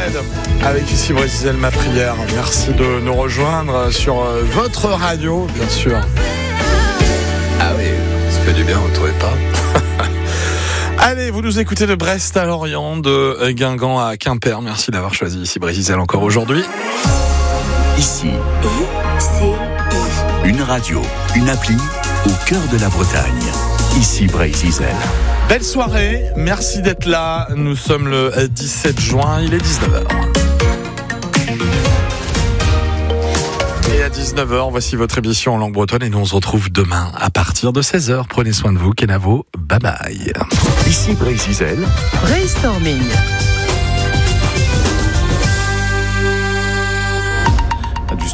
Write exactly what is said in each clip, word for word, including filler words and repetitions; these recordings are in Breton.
Red avec ici Brésil, ma prière. Merci de nous rejoindre sur votre radio, bien sûr. Ah oui, ça fait du bien, vous ne trouvez pas? Allez, vous nous écoutez de Brest à Lorient, de Guingamp à Quimper. Merci d'avoir choisi ici Brésil encore aujourd'hui. Ici, I C I. Une radio, une appli au cœur de la Bretagne. Ici Breizh-Izel. Belle soirée, merci d'être là. Nous sommes le dix-sept juin, il est dix-neuf heures. Et à dix-neuf heures, voici votre émission en langue bretonne et nous on se retrouve demain à partir de seize heures. Prenez soin de vous, Kenavo, bye bye. Ici Breizh-Izel. Brainstorming.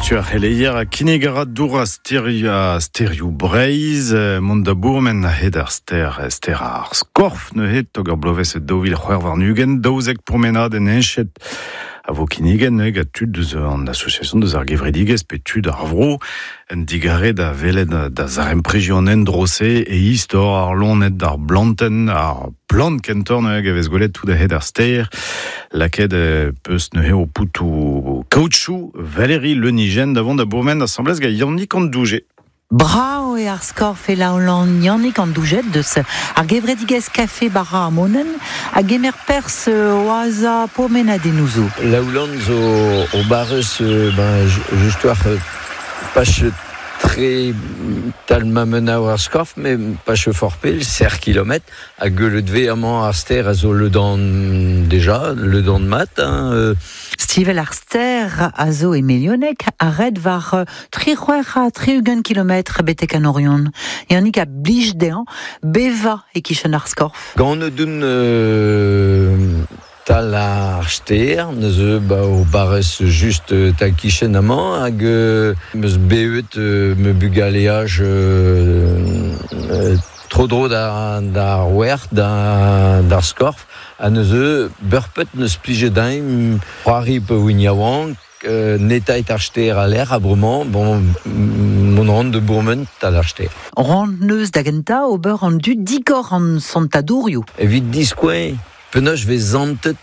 Du heleier a kinegara doura steria steriou Breizh mont da bourmen a hed ar ster ster ar skorf neuze tog ur bloavezh daou vil c'hwec'h warn-ugent daouzek pourmenad en enchet a vo kinnigen neuze gant tud deus an association deus ar gevredigezh pe tud ar vro en digare da welet da zarempreji an endro-se e istor ar loened d'ar blantenn ar plant kentor neuze a vez gwelet tout a hed ar ster laket peus neuze o poutou kaoutchou Valérie Lenigen davant da bourmen assemblez gant Yannick an Douget. Brao e ar skorf e la Hollande Yannick an Douget deus ar gevredigezh Café Bara ar Monen a gemer pers oaza pourmenadennoù. La Hollande zo o barrez ben just war pas tre tal ma mena war skorf mais pas forpel ser kilomètre a gueulet ve amañ ar ster a zo le dan déjà le dan mat hein, euh. Stivel ar ster a zo e milionek a red war tri c'hwec'h ha tri-ugent kilometr betek an Orion. Yannick a blij dezhañ beva e kichen ar skorf. Gant dun euh, tal ar ster, neuze ba o barrez just tal kichen amañ hag meus bevet me bugaleaj euh, euh, tro dro da da wer da d'ar skorf ha neuze beurpet neus plije dain c'hoari pe wignaouank euh, netait ar ster a l'air a bremañ bon mon rand de bourmen tal ar ster. Rand neus da genta ober an du digor an santadourioù. Evit diskouen penaos vez zantet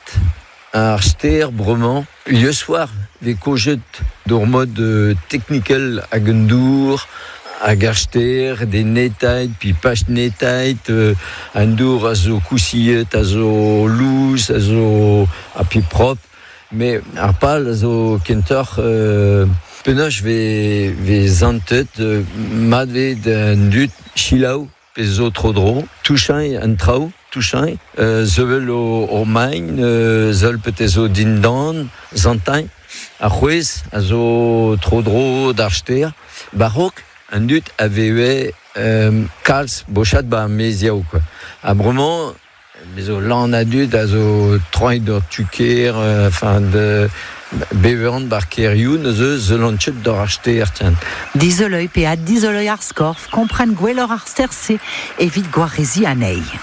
ar ster bremañ le soir vez kojet d'ur mod technical hag un dour hag ar ster des netait puis pas netait euh, un dour a zo kousiet a zo louz a zo a puis propre mais ar pal a zo kentoc'h euh, penaos vez vez zantet euh, mat vez d'un dut chilaou pe zo tro dro touchañ an traoù touchañ euh, zevel o, o main euh, zeul pete zo dindan zantañ ar c'hwez a zo tro dro d'ar ster barok an dut a veve euh, kalz bochat ba meziaou quoi a bremañ zo lan a dud a zo troiñ d'ur tuker enfin de beveran bar kerioù neuze zelanchet d'ur ar ster tiens. Dizoloi pe a dizoloi ar skorf kompren gwelloc'h ar ster-se evit gwarezi anezhi.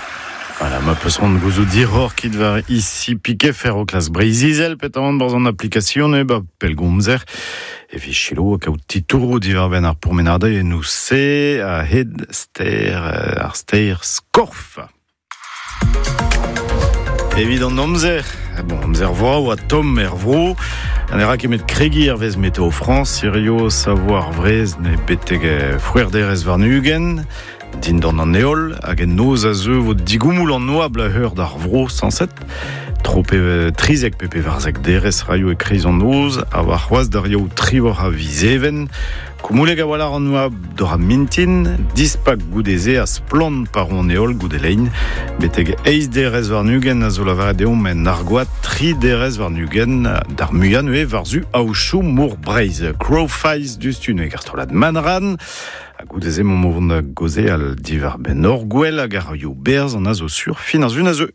Voilà, ma peus ran gouzout diror kit war ici piquet fer o klas Breizh-Izel petamant barzh an application e ba pellgomzer e vi chilo a kaout titourou diwar benn ar pourmenade e nous se a hed ster ar ster skorf. Evit an amzer, bon, amzer voa oa tomm er vro, an era kemet kregi ar vez Météo France, Sirio savoir vrez ne beteg fouerderez warn-ugent, dindan an heol, hag en noz a zeu vo digoumoul an oabl a heur d'ar vro sanset, tro pe trizek pe pevarzek derez raio e kreiz an noz, a war c'hoaz d'ar yaou trivor a vizeven, koumouleg a walar an oabl d'or a mintin, dispak goudeze a splant par an heol goudelein, beteg eiz derez warn-ugent a zo lavaret deomp en argoat, tri derez warn-ugent d'ar muian ue varzu aochou mour Breizh, Crowfies du stu ne gartolad Manran, a goudeze mont movont da goze al divar ben ur gwell hag ar ioù berz an a zo sur fin ar zun a zeu.